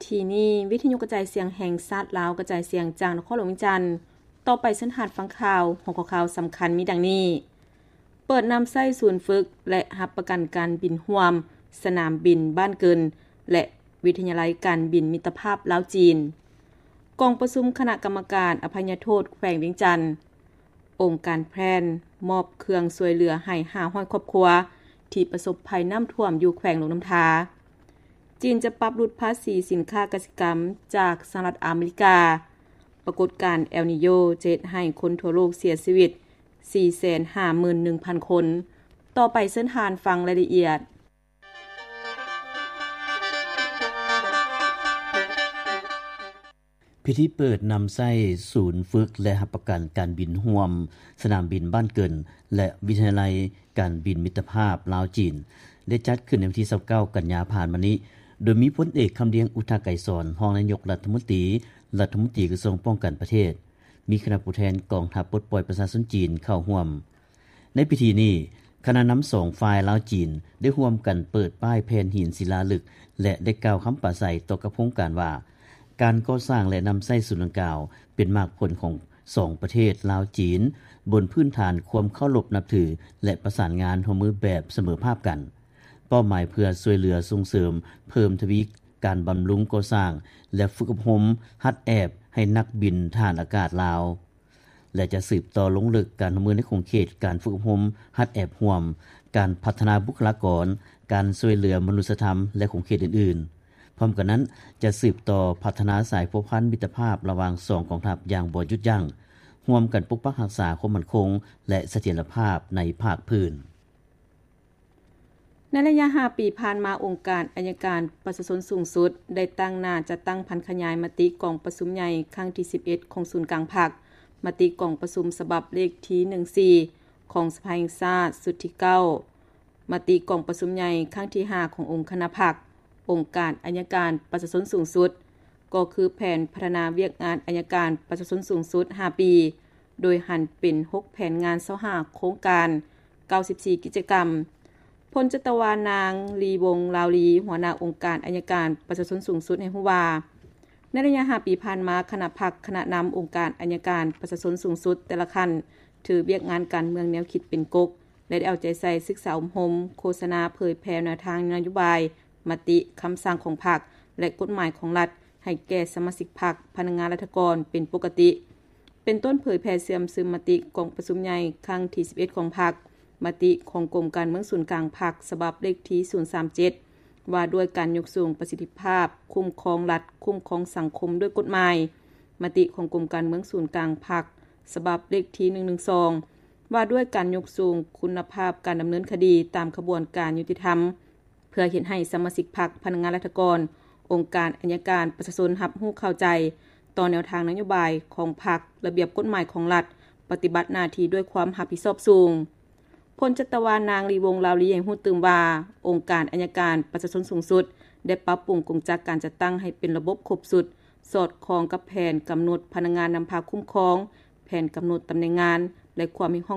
ທີ່ນີ້ ວິທະຍຸກະຈາຍສຽງແຫ່ງຊາດລາວ ກະຈາຍສຽງຈາກນະຄອນຫຼວງວຽງຈັນ. ຕໍ່ໄປເຊີນທ່ານຟັງຂ່າວ. ຫົວຂໍ້ຂ່າວສຳຄັນມີດັ່ງນີ້: ເປີດນຳໃຊ້ສູນຝຶກ ແລະ ຮັບປະກັນການບິນຮ່ວມ ສະໜາມບິນບ້ານເກີນ ແລະ ວິທະຍາໄລການບິນມິດຕະພາບລາວ-ຈີນ. ກອງປະຊຸມຄະນະກຳມະການອະໄພຍະໂທດແຂວງວຽງຈັນ. ອົງການແພຣນ ມອບເຄື່ອງຊ່ວຍເຫຼືອໃຫ້ຫ້າຮ້ອຍຄອບຄົວ ທີ່ປະສົບໄພນ້ຳຖ້ວມຢູ່ແຂວງຫຼວງນ້ຳທາ. ຈີນຈະປັບຫຼຸດພາສີສິນຄ້າກະສິກຳຈາກສະຫະລັດອາເມລິກາ. ປາກົດການແອລນີໂຍຈະເຮັດໃຫ້ຄົນທົ່ວໂລກເສຍຊີວິດສີ່ແສນຫ້າໝື່ນໜຶ່ງພັນຄົນ. ຕໍ່ໄປເຊີນທ່ານຟັງລາຍລະອຽດ. ພິທີເປີດນຳໃຊ້ສູນຝຶກ ແລະ ຮັບປະກັນການບິນຮ່ວມ ສະໜາມບິນບ້ານເກີນ ແລະ ວິທະຍາໄລການບິນມິດຕະພາບລາວ-ຈີນ ໄດ້ຈັດຂຶ້ນໃນວັນທີຊາວເກົ້າ ກັນຍາຜ່ານມານີ້ ໂດຍມີພົນເອກ ຄຳລຽງ ອຸດທະໄກສອນ ຮອງນາຍົກລັດຖະມົນຕີ ລັດຖະມົນຕີກະຊວງປ້ອງກັນປະເທດ, ມີຄະນະຜູ້ແທນກອງທັບປົດປ່ອຍປະຊາຊົນຈີນເຂົ້າຮ່ວມ. ໃນພິທີນີ້, ຄະນະນຳສອງຝ່າຍລາວ-ຈີນ ໄດ້ຮ່ວມກັນເປີດປ້າຍແຜ່ນຫີນສິລາລຶກ ແລະ ໄດ້ກ່າວຄຳປາໄສຕໍ່ກັບໂຄງການວ່າ ການກໍ່ສ້າງ ແລະ ນຳໃຊ້ສູນດັ່ງກ່າວ ເປັນໝາກຜົນຂອງສອງປະເທດລາວ-ຈີນ ບົນພື້ນຖານຄວາມເຄົາລົບນັບຖື ແລະ ປະສານງານຮ່ວມມືແບບສະເໝີພາບກັນ. ເປົ້າໝາຍເພື່ອຊ່ວຍເຫຼືອສົ່ງເສີມເພີ່ມທະວີການບຳລຸງກໍ່ສ້າງ ແລະ ຝຶກອົບຮົມຫັດແອບໃຫ້ນັກບິນທະຫານອາກາດລາວ. ແລະ ຈະສືບຕໍ່ລົງເລິກການຮ່ວມມືໃນຂົງເຂດການຝຶກອົບຮົມຫັດແອບຮ່ວມ, ການພັດທະນາບຸກຄະລາກອນ, ການຊ່ວຍເຫຼືອມະນຸດສະທຳ ແລະ ຂົງເຂດອື່ນໆ. ພ້ອມກັນນັ້ນ, ຈະສືບຕໍ່ພັດທະນາສາຍພົວພັນມິດຕະພາບລະຫວ່າງສອງກອງທັບຢ່າງບໍ່ຢຸດຢັ້ງ, ຮ່ວມກັນປົກປັກຮັກສາຄວາມໝັ້ນຄົງ ແລະ ສະຖຽນລະພາບໃນພາກພື້ນ. ໃນໄລຍະຫ້າປີຜ່ານມາ, ອົງການໄອຍະການປະຊາຊົນສູງສຸດ ໄດ້ຕັ້ງໜ້າຈັດຕັ້ງຜັນຂະຫຍາຍມະຕິກອງປະຊຸມໃຫຍ່ຄັ້ງທີສິບເອັດຂອງສູນກາງພັກ, ມະຕິກອງປະຊຸມສະບັບເລກທີໜຶ່ງສີ່ຂອງສະພາແຫ່ງຊາດຊຸດທີເກົ້າ, ມະຕິກອງປະຊຸມໃຫຍ່ຄັ້ງທີຫ້າຂອງອົງຄະນະພັກ, ອົງການໄອຍະການປະຊາຊົນສູງສຸດ, ກໍຄືແຜນພັດທະນາວຽກງານໄອຍະການປະຊາຊົນສູງສຸດຫ້າປີ. ໂດຍຫັນເປັນຫົກແຜນງານ ຊາວຫ້າໂຄງການ ເກົ້າສິບສີ່ກິດຈະກຳ. ພົນຈັດຕະວານາງ ລີວົງ ລາວລີ ຫົວໜ້າອົງການໄອຍະການປະຊາຊົນສູງສຸດ ໃຫ້ຮູ້ວ່າ ໃນໄລຍະຫ້າປີຜ່ານມາ, ຄະນະພັກ, ຄະນະນຳອົງການໄອຍະການປະຊາຊົນສູງສຸດແຕ່ລະຂັ້ນ ຖືວຽກງານການເມືອງແນວຄິດເປັນກົກ ແລະ ໄດ້ເອົາໃຈໃສ່ສຶກສາອົບຮົມ, ໂຄສະນາ, ເຜີຍແຜ່ແນວທາງນະໂຍບາຍ, ມະຕິ, ຄຳສັ່ງຂອງພັກ ແລະ ກົດໝາຍຂອງລັດ ໃຫ້ແກ່ສະມາຊິກພັກ, ພະນັກງານລັດຖະກອນເປັນປົກກະຕິ, ເປັນຕົ້ນເຜີຍແຜ່ເຊື່ອມຊຶມມະຕິກອງປະຊຸມໃຫຍ່ຄັ້ງທີສິບເອັດຂອງພັກ, ມະຕິຂອງກົມການເມືອງສູນກາງພັກ ສະບັບເລກທີສູນສາມເຈັດ ວ່າດ້ວຍການຍົກສູງປະສິດທິພາບຄຸ້ມຄອງລັດ, ຄຸ້ມຄອງສັງຄົມດ້ວຍກົດໝາຍ, ມະຕິຂອງກົມການເມືອງສູນກາງພັກ ສະບັບເລກທີໜຶ່ງໜຶ່ງສອງ ວ່າດ້ວຍການຍົກສູງຄຸນນະພາບການດຳເນີນຄະດີຕາມຂະບວນການຍຸຕິທຳ. ເພື່ອເຮັດໃຫ້ສະມາຊິກພັກ, ພະນັກງານລັດຖະກອນ, ອົງການໄອຍະການປະຊາຊົນຮັບຮູ້ເຂົ້າໃຈຕໍ່ແນວທາງນະໂຍບາຍຂອງພັກ, ລະບຽບກົດໝາຍຂອງລັດ, ປະຕິບັດໜ້າທີ່ດ້ວຍຄວາມຮັບຜິດຊອບສູງ. ພົນຈັດຕະວານາງ ລີວົງ ລາວລີ ໃຫ້ຮູ້ຕື່ມວ່າ ອົງການໄອຍະການປະຊາຊົນສູງສຸດ ໄດ້ປັບປຸງກົງຈັກການຈັດຕັ້ງໃຫ້ເປັນລະບົບຄົບຊຸດ, ສອດຄ່ອງກັບແຜນກຳນົດພະນັກງານນຳພາຄຸ້ມຄອງ, ແຜນກຳນົດຕຳແໜ່ງງານ ແລະ ຄວາມຮຽກຮ້ອງ